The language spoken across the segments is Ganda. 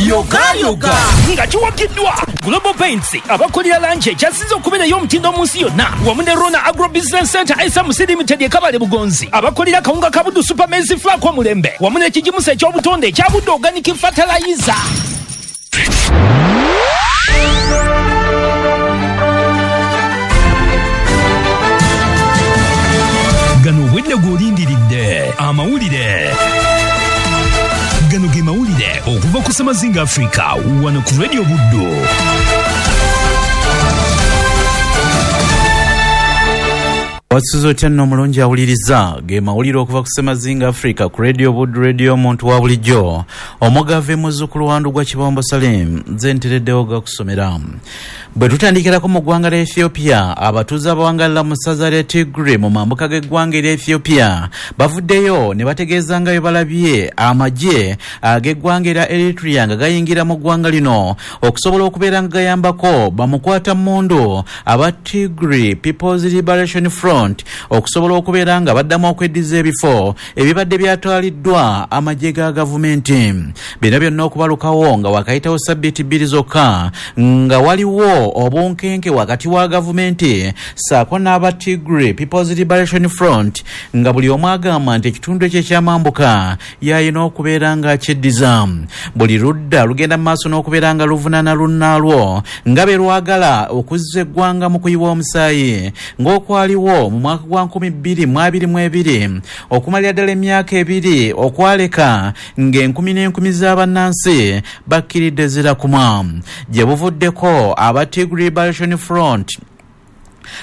Yogayoga nga kiwagiddwa Global Paints abakolera langi ekyasinze okubeera ey'omutindo mu nsi yonna, wamu ne Rona Agro Business Center SMC Limited e Kabale Bugonzi, abakolera kawunga ka Buddu Super Maize Flour omulembe, wamu n'ekigimusa eky'obutonde ekya Buddu Organic Fertilizer. Gano obwedda gw'olindiridde amawulire. Gano ge mawulire okuva ku Semazinga Africa wano ku Radio Buddu. Wasuze otya nno omulungi awuliriza? Ge mawulire okuva ku Semazinga Africa ku Radio Buddu, Radio omuntu wa bulijjo. Omugave muzzukulu wa Ndugwa Kibombo Salim, nze ntereddewo gakusomera. Bwe tutandikirako mu ggwanga lya Ethiopia, abatuuze abawangalira mu ssaza lya Tigray mu mambuka g'eggwanga erya Ethiopia bavuddeyo ne bategeeza nga bwe balabye amagye ag'eggwanga erya Eritrea nga gayingira mu ggwanga lino okusobola okubeera nga gayambako bamukwatammundu aba Tigray People's Liberation Front okusobola okubeera nga baddamu okweddiza ebifo ebibadde byatwaliddwa amagye ga gavumenti. Bino byonna okubalukawo nga wakayitawo sabbiiti bbiri zokka nga waliwo obunkenke wakati wa gavumenti ssaako n'aba Tigray People's Liberation Front nga buli omu agamba nti ekitundu ekyo ekyamambuka y'alina okubeera nga akyeddiza. Buli ludda lugenda mu maaso n'okubeera nga luvunaana lunnaalwo nga bwe lwagala okuzza eggwanga mu kuyiwa omusaayi ng'okwaliwo mu mwaka gwa 2022 okumalira ddala emyaka ebiri okwaleka ng'enkumi n'enkumi z'abannansi bakkiridde zirakumwa. Gye buvuddeko aba Tigray Liberation Front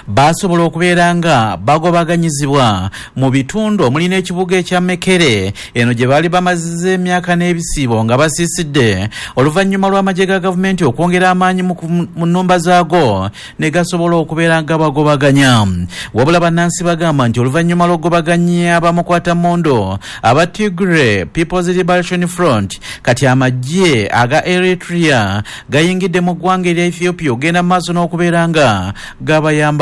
baasobola okubeera nga bagobaganyizibwa mu bitundu omuli n'ekibuga ekya Mekere eno gye baali bamaziza emyaka n'ebisiibo nga basiisidde oluvannyuma lw'amagye ga gavumenti okwongera amaanyi mu nnumba zaago ne gasobola okubeera nga bagobaganya. Wabula bannansi bagamba nti oluvannyuma lw'okugobaganya abamukwatammundu aba Tigray People's Liberation Front, kati amagye aga Eritrea gayingidde mu ggwanga erya Ethiopia okugenda mu maaso n'okubeera nga gabayambako.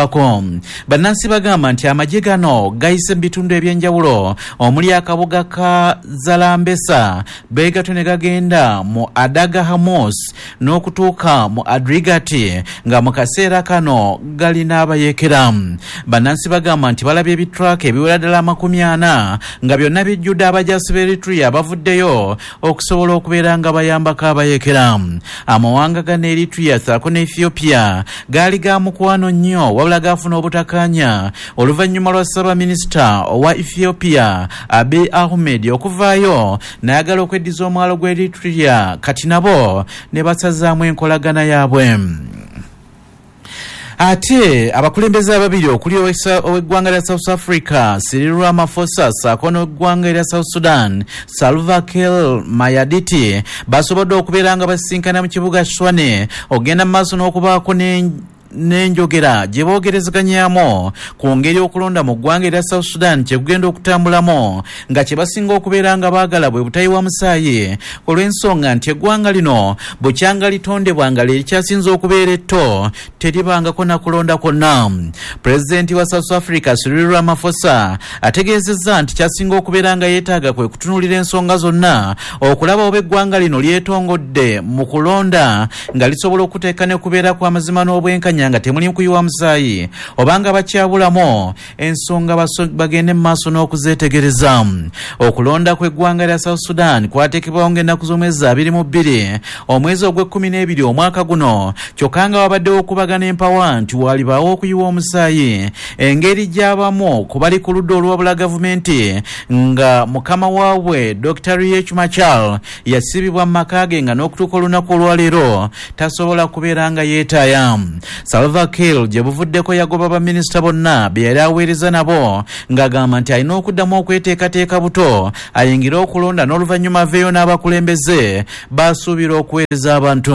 Bannansi bagamba nti amagye gano gayise mu bitundu eby'enjawulo omuli akabuga ka Zalambesa, beegato ne gagenda mu Adaga Hamos n'okutuuka mu Adrigati nga mu kaseera kano galina abayeekera. Bannansi bagamba nti balabye ebitraka ebiwera ddala 40 nga byonna bijjudde abajaasi b'e Eritrea bavuddeyo okusobola okubeera nga bayambako abayeekera. Amawanga gano Eritrea ssaako ne Ethiopia gaali ga mukwano nnyo wabula gaafuna obutakkaanya oluvannyuma lwa ssaabaminisita owa Ethiopia Abiy Ahmed okuvaayo n'ayagala okweddiza omwalo gw'e Eritrea kati nabo ne basazaamu enkolagana yaabwe. Ate abakulembeze ababiri okuli ow'eggwanga lya South Africa Cyril Ramaphosa ssaako n'eggwanga erya South Sudan Salva Kiir Mayardit basobodde okubeera nga basisinkana mu kibuga Tshwane okugenda mu maaso n'okubaako n'enjogera gye boogerezeganyaamu ku ngeri okulonda mu ggwanga erya South Sudan kye kugenda okutambulamu nga kye basinga okubeera nga baagala bwe butayiwa musaayi olw'ensonga nti eggwanga lino bukyanga litondebwa nga lye likyasinze okubeera etto teribangako na kulonda kwonna. Pulezidenti wa South Africa Cyril Ramaphosa ategeezezza nti kyasinga okubeera nga yeetaaga kwe kutunuulira ensonga zonna okulaba oba eggwanga lino lyetongodde mu kulonda nga lisobola okuteeka ne kubeera kw'amazima n'obwenkanya nga temuli kuyiwa musaayi oba nga bakyabulamu ensonga bagende mu maaso n'okuzeetegereza. Okulonda kw'eggwanga lya South Sudan kwateekebwawo ng'ennaku z'omwezi 22 omwezi ogw'e-12 omwaka guno, kyokka nga wabaddewo okubagana empawa nti walibaawo okuyiwa omusaayi engeri gy'abamu ku bali ku ludda oluwabula gavumenti nga mukama waabwe Dr. Riek Machar yasibibwa mu maka ge nga n'okutuuka olunaku olwaleero tasobola kubeera nga yeetaaya. Salva Kiir gye buvuddeko yagoba baminisita bonna be yali aweereza nabo ng'agamba nti alina okuddamu okweteekateeka buto ayingire okulonda n'oluvannyuma aveeyo n'abakulembeze basuubira okuweereza abantu.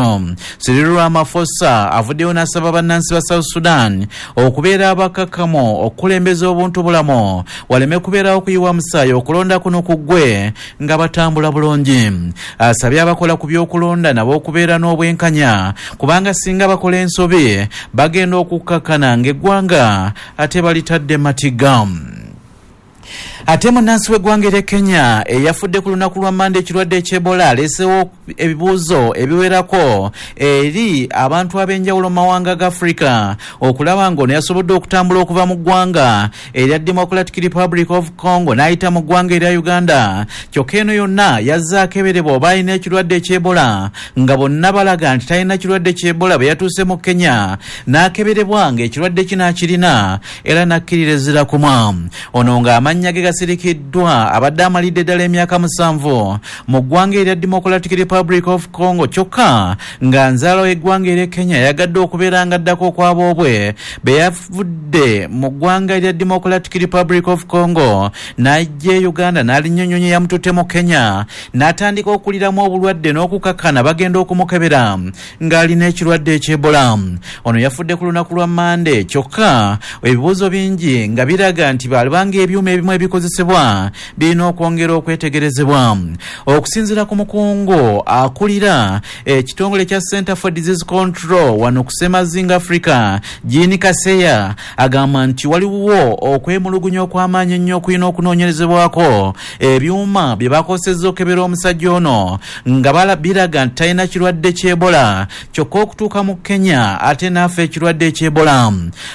Cyril Ramaphosa avuddeyo n'asaba bannansi ba South Sudan okubeera abakakkamu okukulembeza obuntu bulamu waleme kubeerawo okuyiwa musaayi okulonda kuno kuggwe nga batambula bulungi. Asabye abakola ku by'okulonda nabo okubeera n'obwenkanya kubanga singa bakola ensobi bagenda okukkakkana ng'eggwanga ate balitadde matigga. Ate munnansi w'eggwanga erya Kenya eyafudde ku lunaku lwa Mmande ekirwadde eky'Ebola aleesewo ebibuuzo ebiwerako eri abantu ab'enjawulo mu mawanga ga Africa okulaba ng'ono yasobodde okutambula okuva mu ggwanga erya Democratic Republic of Congo n'ayita mu ggwanga erya Uganda. Kyokka eno yonna yazze akeberebwa oba alina ekirwadde eky'Ebola, nga bonna balaga nti talina kirwadde ky'Ebola. Bwe yatuuse mu Kenya n'akeberebwa ng'ekirwadde kino akirina era n'akkirira ezira kumwa. Ono ng'amannya ge gasirikiddwa abadde amalidde ddala emyaka 7 mu ggwanga erya Democratic Republic of Congo, kyokka nga nzaala w'eggwanga erya Kenya yagadde okubeera nga addako okwaboobwe be yavudde mu ggwanga erya Democratic Republic of Congo n'ajja e Uganda n'alinnya ennyonyi yamututte mu Kenya n'atandika okuliramu obulwadde n'okukakkana bagenda okumukebera ng'alina ekirwadde eky'Ebola. Ono yafudde ku lunaku lwa Mmande, kyokka ebibuuzo bingi nga biraga nti balibanga ebyuma ebimu ebikozesebwa birina okwongera okwetegerezebwa. Okusinziira ku mukungu akulira ekitongole kya Center for Disease Control wano ku Ssemazinga Africa, Jean Kaseya, agamba nti waliwo okwemulugunya okw'amaanyi ennyo okulina okunoonyerezebwako ebyuma bye bakozesezza okukebera omusajja ono nga biraga nti talina kirwadde ky'Ebola, kyokka okutuuka mu Kenya ate n'afa ekirwadde eky'Ebola.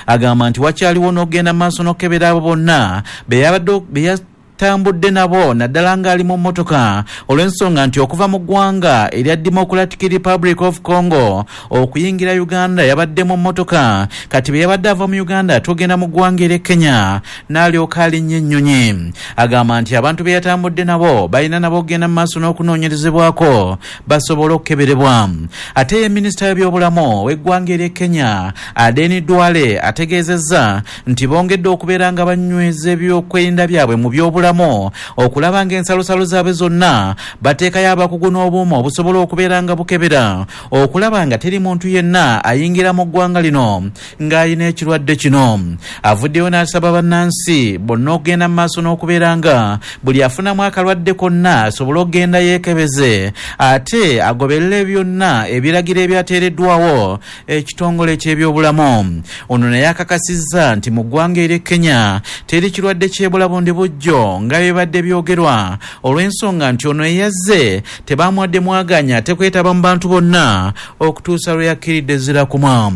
Agamba nti wakyaliwo n'okugenda mu maaso n'okukebera abo bonna be yatambudde nabo naddala ng'ali mu mmotoka, olw'ensonga nti okuva mu ggwanga erya Democratic Republic of Congo okuyingira Uganda yabadde mu mmotoka, kati bwe yabadde ava mu Uganda tugenda mu ggwanga erya Kenya n'alyoka alinnya ennyonyi. Agamba nti abantu be yatambudde nabo balina nabo okugenda mu maaso n'okunoonyerezebwako basobole okukeberebwa. Ate ye minisita w'ebyobulamu w'eggwanga erya Kenya Aden Duale ategeezezza nti bongedde okubeera nga banyweza ebyokwerinda byabwe mu byobulamu okulaba ng'ensalosalo zaabwe zonna bateekayo abakugu n'obuuma obusobola okubeera nga bukebera okulaba nga teri muntu yenna ayingira mu ggwanga lino ng'alina ekirwadde kino. Avuddeyo n'asaba bannansi bonna okugenda mu maaso n'okubeera nga buli afunamu akalwadde konna asobole okugenda yeekebeze ate agoberere byonna ebiragiro ebyateereddwawo ekitongole ky'ebyobulamu. Ono naye akakasizza nti mu ggwanga erye Kenya teri kirwadde ky'Ebola bundi bujjo nga bibadde byogerwa, olw'ensonga nti ono eyazze tebamuwadde mwaganya ate kwetaba mu bantu bonna okutuusa lwe yakkiridde ezira kumwa.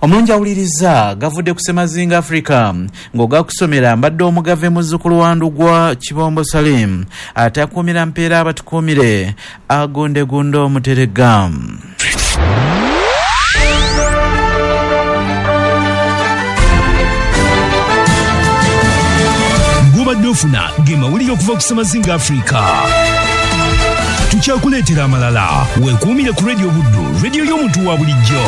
Omulungi awuliriza gavudde ku Ssemazinga Africa ng'ogakusomera mbadde omugave muzzukulu wa Ndugwa Kibombo Salim ate akuumira mpeera abatukuumire agondegunda omuteregga. Gobadde ofuna ge mawulire okuva ku Ssemazinga Africa. Tukyakuleetera amalala. Weekuumire ku Radio Buddu, radio y'omuntu wa bulijjo.